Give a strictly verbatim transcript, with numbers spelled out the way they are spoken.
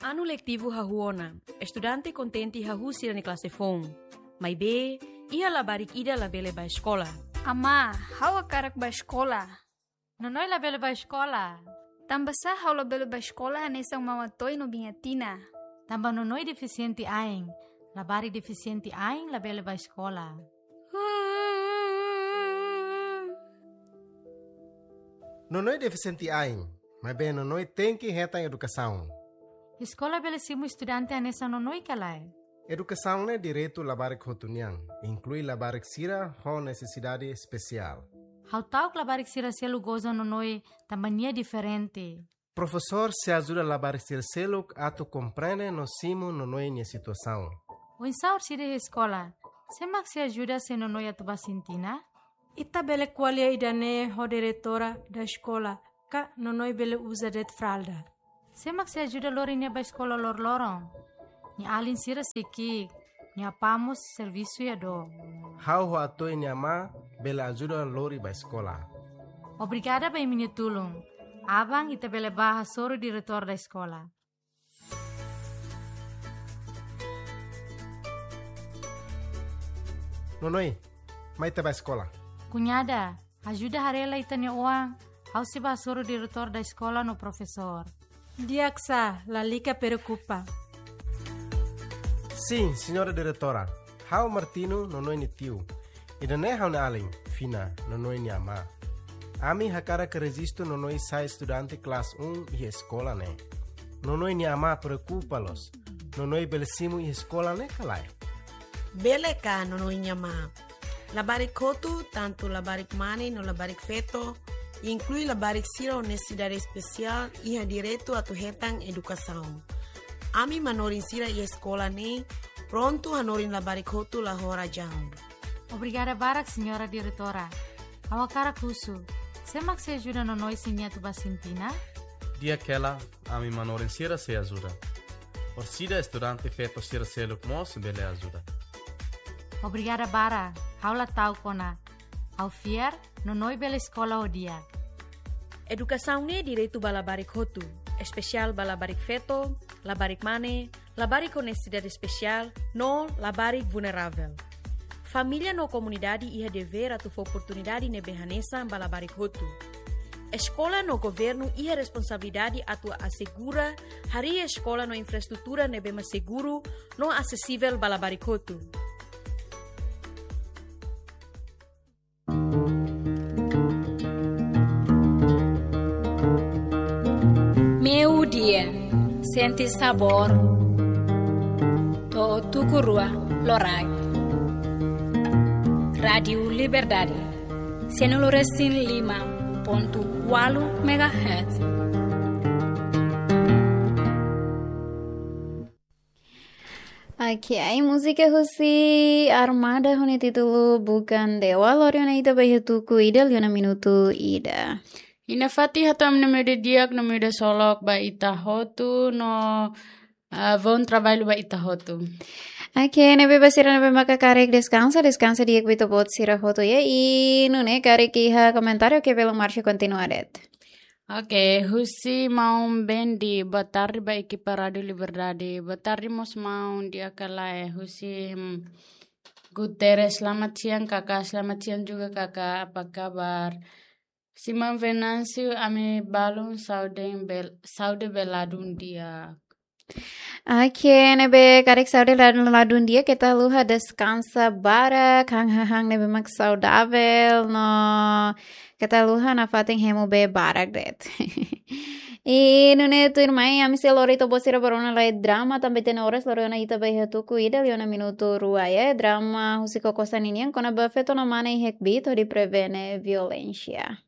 Anu letivu hahú ona, estudante kontente hahú sira-nia klase foun. Maibé, iha labarik ida labele bá eskola. Amá, ha'u hakarak bá eskola. Nonoi labele bá eskola. Tanbasá ha'u labele bá eskola hanesan Maun Atoy no Biin Atina? Tanba Nonoi defisiente ain. Labarik defisiente ain labele bá eskola. Nonoi defisiente ain, maibé Nonoi tenke hetan edukasaun. Eskola bele simu estudante hanesan Nonoi ka lae? Edukasaun ne'e direitu labarik hotu nian, inklui labarik sira ho nesesidade espesiál. Ha'u ta'uk labarik sira seluk goza Nonoi tanba nia diferente. Profesór sei ajuda labarik sira seluk atu komprende no simu Nonoi nia situasaun. Oinsá orsida iha eskola? Sé mak sei ajuda se Nonoi atu bá sintina? Ita bele ko'alia ida-ne'e ho diretora da eskola, ka Nonoi bele uza de'it fralda. Sé mak sei ajuda lori nia bá eskola loroloron? Nia alin sira sei ki'ik, nia apá mós servisu iha dook. Ha'u ho Atoy nia amá bele ajuda lori bá eskola. Obrigada ba imi-nia tulun. Aban ita bele bá hasoru diretór da eskola. Nonoi, mai ita bá eskola. Kuñada, ajuda haree lai ita-nia oan, ha'u sei bá hasoru diretór da eskola no profesór. Di'ak sá, lalika preokupa. Sin, señora diretora. Ha'u Martino, Nonoi nia tiu. Ida-ne'e ha'u-nia alin, Fina, Nonoi nia amá. Ami hakarak rejistu Nonoi sai estudante klase um iha eskola ne'e. Nonoi nia amá preokupa loos. Nonoi bele simu iha eskola ne'e ka lae? Bele ka, Nonoi nia amá. Labarik hotu, tantu labarik mane no labarik feto, inklui labarik sira ho nesesidade espesiál, iha direitu atu hetan edukasaun. Ami manorin sira iha eskola ne'e prontu hanorin labarik hotu la ho razaun. Obrigada barak, señora diretora. Ha'u hakarak husu, sé mak sei ajuda Nonoi se nia atu bá sintina? Di'ak hela, ami manorin sira sei ajuda. Orsida estudante feto sira seluk mós bele ajuda. Obrigada barak, ha'u la ta'uk ona. Ha'u fiar, Nonoi bele eskola ho di'ak. Edukasaun ne'e direitu ba labarik hotu, espesiál ba labarik feto, labarik mane, labarik ho nesesidade espesiál, no labarik vulneravel. Família no komunidade iha devér atu fó oportunidade ne'ebé hanesan ba labarik hotu. Eskola no governu iha responsabilidade atu asegura harii eskola no infraestrutura ne'ebé mak seguru no asesivel ba labarik hotu. Meiudia, sente sabór to'o tuku rua loraik. Rádiu Liberdade, sanulu resin lima pontu ualu megahertz. Ok, múzika husi Armada ho nia títulu Bukan Dewa, lori ona ita ba iha tuku ida, liu ona minutu ida. I nafatin hato'o ami-nia meiudia di'ak no meiudia solok ba ita hotu no, ah, bom trabalho ba ita hotu. Ok, ne'ebé ba sira ne'ebé maka karik deskansa, deskansa di'ak ba ita-boot sira hotu ya. I nune'e karik iha komentáriu ke belum marcha kontinua de'it. Ok, husi maun Bendi, boa tarde ba ekipa Rádiu Liberdade. Boa tarde mós maun, di'ak ka lae, husi, hmm, Guterres, selamat siang kakak, selamat siang juga kakak, apa kabar? Husi maun Venâncio, ami balun saúde bel-, saúde bela dun di'ak. Ok, ne'ebé karik saúde la-, la dun di'ak, keta haluha deskansa barak, han hahán ne'ebé mak saudavel, no keta haluha nafatin hemu bee barak de'it. I nune'e tuirmai, ami sei lori ita-boot sira ba rona lai drama, tanba ita-nia oras lori ona ita ba iha tuku ida, liu ona minutu rua ya, drama husi Koko Saninian, kona-ba feto no mane iha kbiit hodi prevene violénsia.